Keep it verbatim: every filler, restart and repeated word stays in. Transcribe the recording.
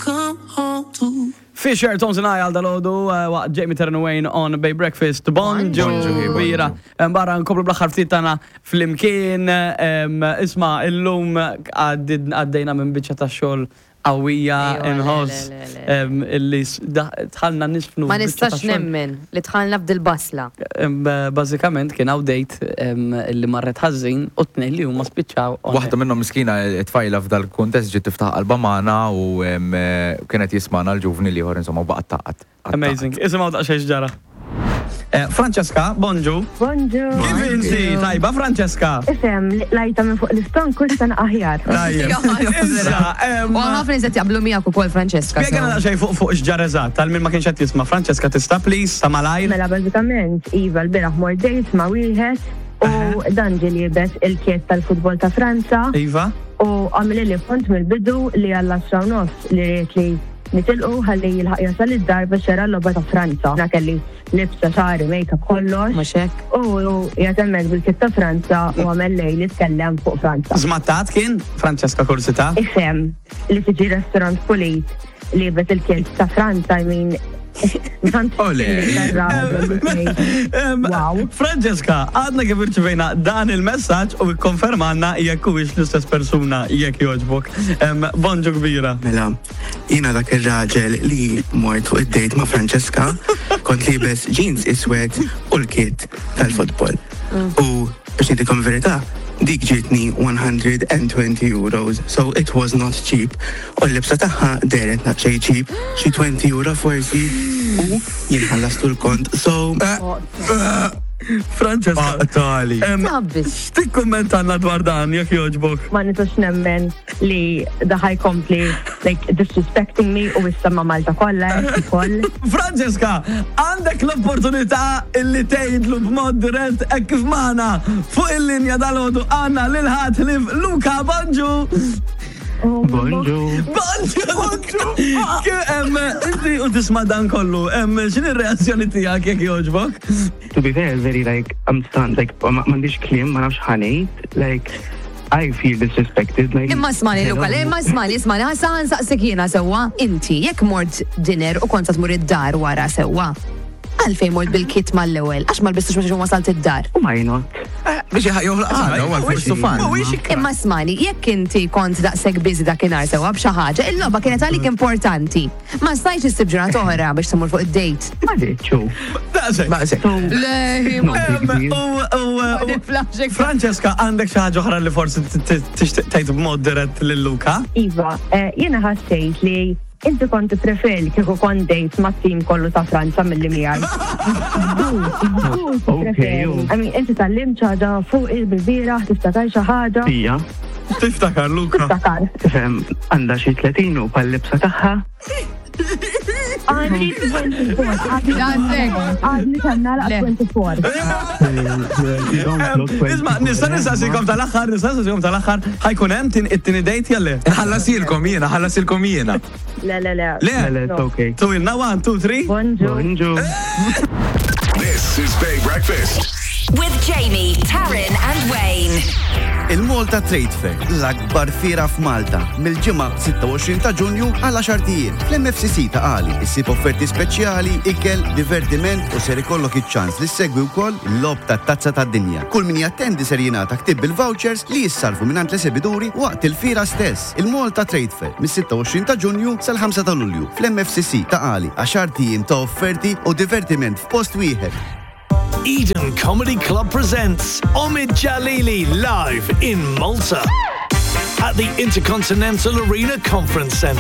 come home to. Fisher, Tones and I għal dalgħodu, waqt Jamie Taryn Wayne on Bay Breakfast. Bonġu, Bonġu, bira. Barra nkomplu bl-aħħar ftit tagħna flimkien. em, Isma, illum għaddid- għaddejna minn biċċa ta' xogħol qawwija Ejwa, le, inħoss le, le, le. em, illi s- da- dħalna nisfnu. Ma f'biċċa ta' nistax xogħol. nemmen li dħalna f'dil-basla. Em, Bażikament kien hawn date em, illi marret ħażin u tnejn li huma spiċċaw. on Waħda minnhom miskina tfajla f'dal kuntest ġiet tiftaħ qalba magħna u em, eh, kienet jismana l-ġuvni l-ieħor insomma u baqgħet taqgħad. Amazing. Isimgħu daqsxejn ġara. Eh, Francesca, bonġu. Bonġu. Kif inti? Tajba, Francesca? Ifhem, lajta minn fuq l-istonku issa aħjar. Tajjeb. Issa, em, U ħafna nies qed jaqblu miegħek ukoll Francesca. Spjegana so. daqsxejn fuq fuq x'ġara eżatt, tal min ma kienx qed jisma'. Francesca tista' please, ta' malajr. Mela bażikament, Iva l-bieraħ mort date ma' wieħed u dan ġie liebes il-kit tal-futbol ta' Franza Iva? u għamilli li punt mill-bidu li għall-għaxra u nofs li ried li nitilqu ħalli jilħaq jasal id-dar biex jara l-logħba ta' Franza. Na kelli libsa xagħri, make-up kollox. Mhux hekk. U jatemmek bil-kit ta' Franza u għamel lej li tkellem fuq Franza. Żmattat kien, Francesca kursita? Ifhem li tiġi restaurant pulit liebes il-kit ta' Franza, I mean, Ole. Em, Wow. Francesca, għadna kif irċivejna dan il-messaġġ u ikkonfermanna jekk huwiex l-istess persuna jekk jogħġbok. Em, Bonġu kbira. Mela, jiena dak ir-raġel li mort fuq id-date ma' Francesca, kont liebes jeans iswed u l-kit tal-futbol. U biex ngħidilkom verità, dik ġietni one hundred and twenty euros, so it was not cheap. U l-libsa tagħha dehret naqxej cheap, xi twenty euro forsi, u jien ħallastu l-kont. So, Francesca. Tali. em, Tabbis. X'tikkummentanna dwar dan jekk jogħġbok? Ma nistax nemmen li da ħa jkompli like disrespecting me u issa ma' Malta kollha ukoll. Francesca, għandek l-opportunità illi tgħidlu b'mod dirett hekk kif magħna fuq il-linja dalgħodu għandna lil ħadd li Luka, bonġu. Bonġu. Bonġu, Luka. Kif, em, Inti u tisma' dan kollu, em, x'inhi r-reazzjoni tiegħek jekk jogħġbok? To be fair, very like, I'm stunned, like, ma- m'għandix kliem, ma nafx ħa ngħid, like, I feel disrespected. Like, Imma smani, Luka, le, imma smani, smani, ħa sa nsaqsik jiena sewwa, inti, jekk mort dinner u kont tmur id-dar wara sewwa, għalfejn mort bil-kit mal-ewwel, għax ma lbistux biex wasalt id-dar? Why not? Biex joħloq għada, u għal fun. Mhuwiex Imma smani, jekk inti kont daqshekk busy dakinhar sewwa b'xi ħaġa, il-logħba kienet għalik importanti. Ma stajtx issib ġurnata oħra biex tmur fuq id-date. Ma rridx. Daqshekk. Baqsek. So, Le, no big deal. U- u- u- niflaħx. Francesca, għandek xi ħaġa oħra li forsi t- t- tixtieq tgħid b'mod dirett lil Luka? Iva, eh, jiena ħassejt li inti kont preferi kieku kont date ma' tim kollu ta' Franza milli miegħi. Okay, u. I mean, inti tgħallimt xi ħaġa fuq il-bieraħ, tiftakar xi ħaġa? Ija, Tiftakar, Luka. Tiftakar. tifhem għandha xi tletin u pal-libsa tagħha. Għandi twenty-four. Daqshekk. Għadni kemm nagħlaq Le. twenty-four. You don't look Isma, nista' nistaqsikom tal-aħħar, nista' nistaqsikom tal-aħħar, ħa jkun hemm tin- it-tieni date jew le? Ħallasilkom jiena, ħallasilkom jiena. Le, le, le. Le, Le, it's okay. Tuwilna one, two, three. Bonġu. Bonġu. This is Bay Breakfast. With Jamie, Taryn, and Wayne. Il-Malta Trade Fair, l-akbar fiera f'Malta, mill-Ġimgħa sitta u għoxrin ta' Ġunju għal għaxart ijiem. Fl-M F C C Ta' Qali, issib offerti speċjali, ikel, divertiment u ser ikollok iċ-ċans li ssegwi wkoll il-logħob tat-Tazza tad-Dinja. Kull min jattendi ser jingħata ktib bil-vouchers li jissarfu mingħand l-esibiduri waqt il-fiera stess. Il-Malta Trade Fair, mis-sitta u għoxrin ta' Ġunju sal-ħamsa ta' Lulju. Fl-M F C C Ta' Qali, għaxart ijiem ta' offerti u divertiment f'post wieħed. Eden Comedy Club presents Omid Djalili live in Malta at the Intercontinental Arena Conference Centre.